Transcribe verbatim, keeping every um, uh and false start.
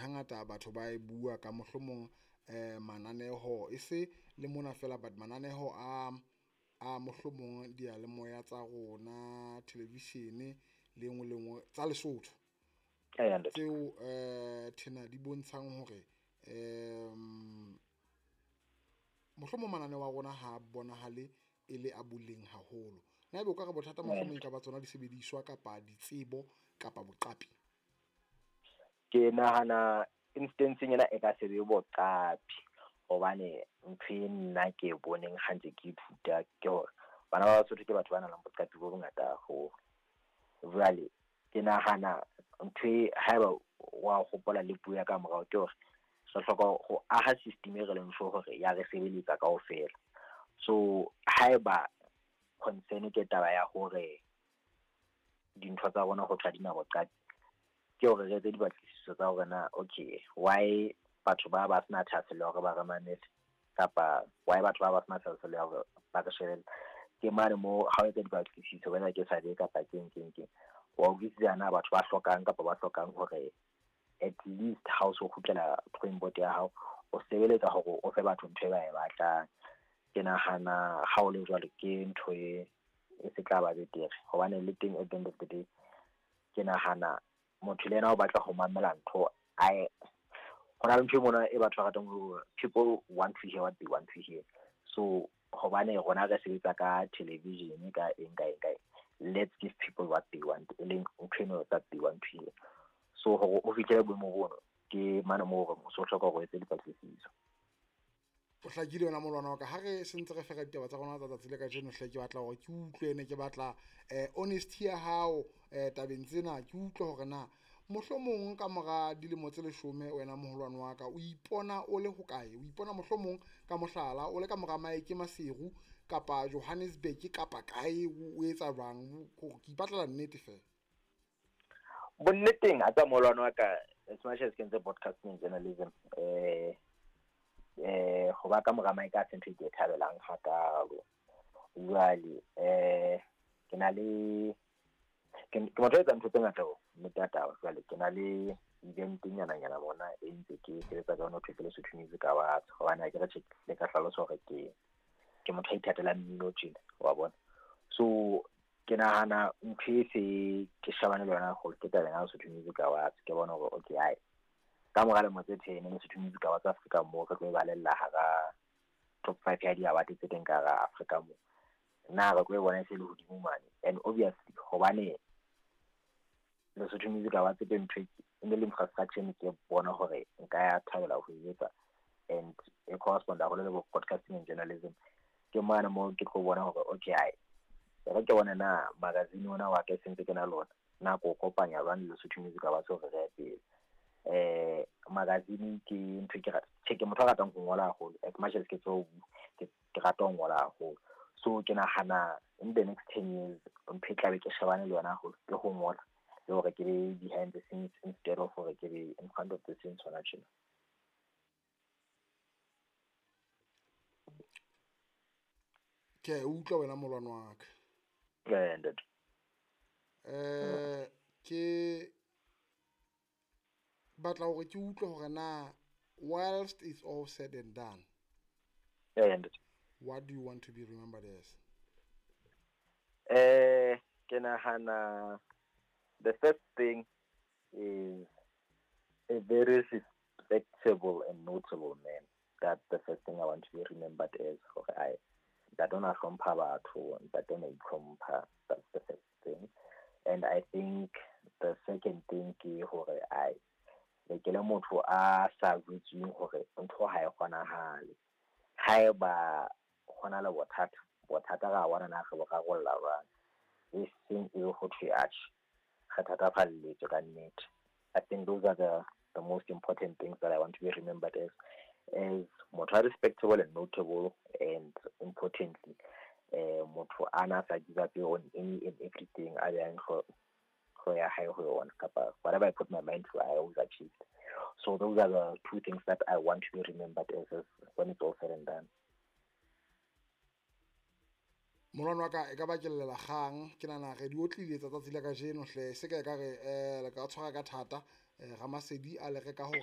Hangata batho ba e bua ka mohlomong eh mananeho e se le mona fela, but mananeho a a mohlomong diyalemoya tsa rona, television le engwe le engwe tsa Lesotho tseo eh thena di bontshang hore um mohlomong mananeo a rona ha bonahale e le a boleng haholo. Na ebe o ka re bothata mohlomong e ka ba tsona disebediswa kapa ditsebo kapa boqapi? Ke nahana instance-eng ena e ka se be boqapi hobane ntho e nna ke boneng ha ntse ke ithuta ke hore bana ba Basotho ke batho ba nang le boqapi bo bongata haholo. Jwale ke nahana ntho e haeba wa hopola le puo ya ka morao ke hore re hloka ho aha system e re leng sure hore ya re sebeletsa kaofela. So haeba concern ke taba ya hore dintho tsa rona ho thwe ha di na boqapi, ke hore re etse dipatlisiso tsa hore na okay why batho ba ba sena thahasello ya hore ba re mamele, kapa why batho ba ba sena thahasello ya hore ba re shebelle. Ke mane moo ha o etsa dipatlisiso whether ke survey kapa keng keng keng, wa utlwisisa na batho ba hlokang kapa ba hlokang hore at least ha o so kgutlela drawing board ya hao, o sebeletsa hore o fe batho ntho e ba e batlang. Ke nahana ha o le jwalo ke ntho e e se tla ba betere hobane le teng at the end of the day ke nahana motho le yena o batla ho mamela ntho a ho na le ntho e mona e batho ba ratang ho people want to hear what they want to hear. So hobane rona re sebetsa ka television ka eng ka eng ka eng, let's give people what they want, e leng ntho eno that they want to hear. So hore o fihlele boemo bono ke mane moo hore o so hloka hore o etse dipatlisiso. O hlakile yona molwana wa ka. Ha re sentse re fera ditaba tsa rona tsa tsatsi le kajeno hle, ke batla hore ke utlwe ene ke batla eh honesty ya hao eh tabeng tsena. Ke utlwe hore na mohlomong ka mora dilemo tse leshome wena moholwane wa ka o ipona o le hokae, o ipona mohlomong ka mohlala o le ka mora Mike Maseru kapa Johannesburg kapa kae, o etsa jwang? Ke ipatlela nnete fela. Bonneteng a tsa moholwane wa ka, as much as ke ntse broadcasting journalism, eh eh ho ba ka mora Mike a se ntho e ke e thabelang hakalo. Jwale eh ke na le ke motho a etsang ntho tse ngata ho nnete ya taba. Jwale ke na le event nyana nyana bona e ntse ke sebetsa ka yona ho thwe ke Lesotho Music Awards, hobane ha ke re tjhe le ka hlalosa hore ke ke motho a ithatelang mmino tjena wa bona. So ke nahana ntho e se ke shebane le yona haholo ke taba ya Lesotho Music Awards. Ke bona hore okay ai ka mora lemo tse ten Lesotho Music Awards Afrika mo re tlo e balella hara top five ya di-award tse teng ka hara Afrika mo, na re tlo e bona e se le hodimo mane. And obviously hobane Lesotho Music Awards ke ntho e ne le infrastructure ne ke bona hore nka ya thabela ho e etsa, and e correspond haholo le broadcasting and journalism. Ke mane moo ke tlo bona hore okay ai re ke bona na magazine ona wa ka sentse ke na lona na ko kopanya jwang le Lesotho Music Awards hore re ye pele. Eh magazine ke ntho ke rata, tjhe ke motho a ratang ho ngola haholo, as much as ke tseo ke rata ho ngola haholo. So ke nahana in the next ten years ntho e tlabe ke shebane le yona haholo ke ho ngola le hore ke be behind the scenes instead of hore ke be in front of the scenes hona tjena. Ke utlwa wena molwana wa ka. Eh ntate. Eh ke batla hore ke utlwe hore na whilst it's all said and done, eh ntate, what do you want to be remembered as? Eh ke nahana the first thing is a very respectable and notable man. That's the first thing I want to be remembered as. Hore ai ntate o na hlompha batho, ntate o na itlhompha. That's the first thing. And I think the second thing ke hore ai le ke le motho a sa jwetsweng hore ntho ha e kgonahale. Haeba hona le bothata, bothata ra bona na re bo rarolla jwang, e seng e ho thwe atjhe re thatafalletswe ka nnete. I think those are the, the most important things that I want to be remembered as, as motho a respectable and notable, and importantly eh motho a na sa give up on any and everything a yang go go ya hae ho yona, kapa whatever I put my mind to I always achieved. So those are the two things that I want to be remembered as, as when it's all said and done. Molwana wa ka e ka ba ke llela kgang, ke nahana re di otlile tsa tsatsi la kajeno hle, se ka e ka re eh le ka tshwara ka thata eh Ramasedi a le reka hore